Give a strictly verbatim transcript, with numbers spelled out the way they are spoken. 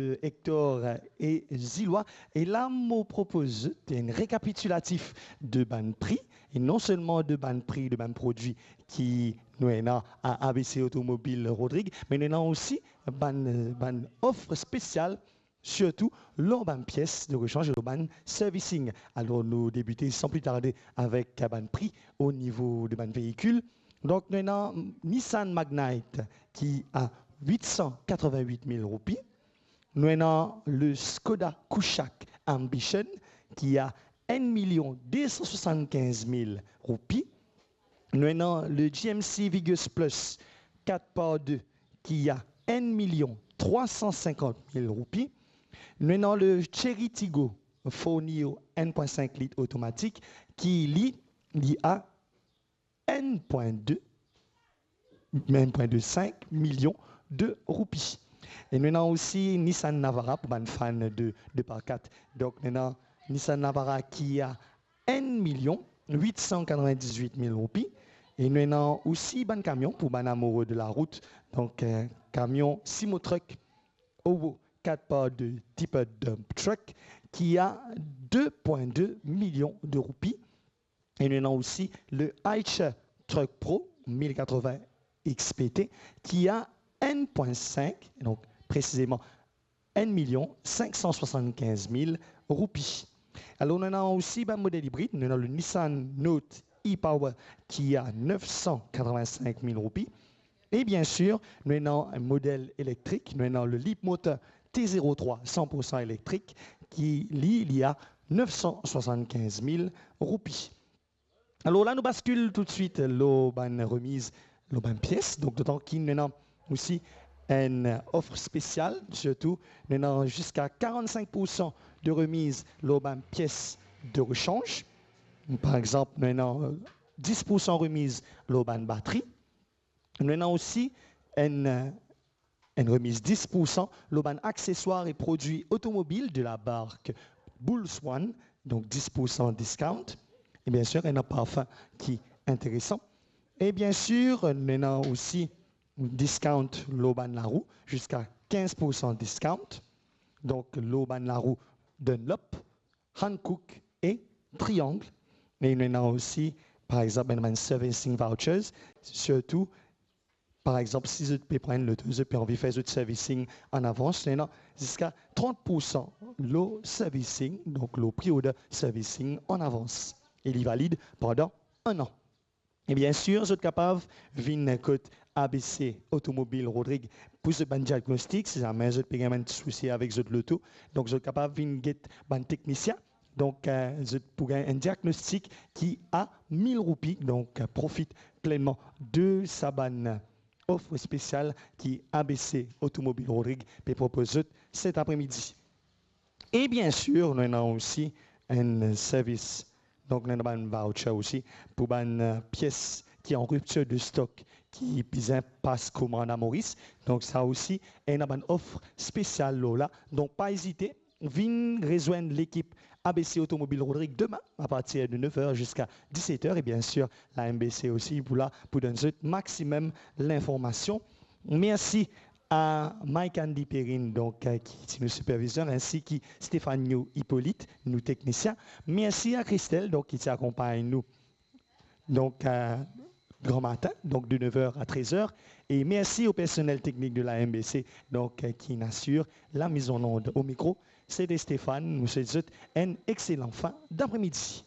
euh, Hector et Zilois. E la, mo propoz zot enn rekapitilatif de bann pri, e non selman de bann pri de bann prodwi ki nou ena a A B C Automobile Rodrigues, me nou ena osi bann, bann of spesial, sirtou lor bann pies de rechange, lor bann servicing. Alor, nou debite san pli tarde avek bann pri o nivo de bann veikil. Donk, nou ena Nissan Magnite ki a wit san katrovin-wit mil roupi. Nou ena le Skoda Kushaq Ambition ki a enn milion de san swasann-kinz mil roupi. Nou ena le G M C Vigous Plus kat par de ki a enn milion trwa san sinkant mil roupi. Nou ena le Chery Tiggo four Neo enn pwin sink lit otomatik ki li, li a enn pwin de, enn pwin de sink milion de roupi. E nou ena osi Nissan Navara pou bann fan de, de par kat. Donk, nou ena Nissan Navara ki a enn milion wit san katrovin-diz-wit mil roupi. E nou ena osi bann kamion pou bann amoure de larout. Donk, eh, kamion Simo Truck Howo kat par de tipe dump truck ki a de pwin de milion de roupi. E nou ena osi le Eicher Truck Pro mil katrovin X P T ki a enn pwin sink, donk presizeman enn milion sink san swasann-kinz mil roupi. Alor, nou ena osi bann model ibrid, nou ena le Nissan Note e-Power ki a nef san katrovin-sink mil roupi. E bien sir, nou ena enn model elektrik, nou ena le Leapmotor T zero trwa san pour san elektrik ki li, li a nef san swasann-kinz mil roupi. Alor la, nou baskil toutswit lor bann remiz, lor bann pies. Donk, dotan ki nou ena osi enn of spesial, sirtou, nou ena ziska karann-sink pour san de remiz lor bann pies de rechange. Par exanp, nou ena, eh, dis pour san remiz lor bann batri. Nou ena osi enn, eh, enn remiz dis pour san lor bann akseswar e prodwi otomobil de la mark Bulls One, donk dis pour san discount. E bien sir, ena parfin ki interesan. E bien sir, nou ena osi discount lor bann larou, ziska kinz pour san discount. Donk, lor bann larou Dunlop, Hankook e Triangle. E nou ena osi, par exanp, enn bann servicing vouchers, sirtou, par exanp, si zot pe pran enn loto, zot pe anvi fer zot servicing an avans, nou ena ziska trant pour san lor servicing, donk lor pre-order servicing an avans. E li valid pandan enn an. E bien sir, zot kapav vinn kot A B C Automobile Rodrigues pou zot bann diagnostik, si zame zot pe gagn bann ti sousi avek zot loto. Donk, zot kapav vinn get bann teknisien. Donk, eh, zot pou gagn enn diagnostik ki a mil roupi. Donk, eh, profit plenman de sa bann of spesial ki A B C Automobile Rodrigues pe propoz zot set apremidi. E bien sir, nou ena osi enn servis, donk nou ena bann voucher osi pou bann, eh, pies ki an riptir de stok, ki bizin pas komann a Moris. Donk sa osi ena bann of spesial lor la. Donk pa ezite, vinn rezwenn lekip A B C Automobile Rodrigues demin apartir de nef er ziska diset er. E bien sir, la M B C osi pou la pou donn zot maximum linformasion. Mersi a Mike Andy Perrine, donk, eh, ki ti nou sipervizer, ensi ki Stéphanie Hippolyte, nou teknisien. Mersi a Christelle, donk, ki ti akonpagn nou, donk, eh, gran matin, donk de nef er a trez er. E mersi o personel teknik de la M B C, donk, eh, ki inn asir la mise en onde. O mikro, se te Stéphane. Nou swet zot enn exelan fin dapremidi.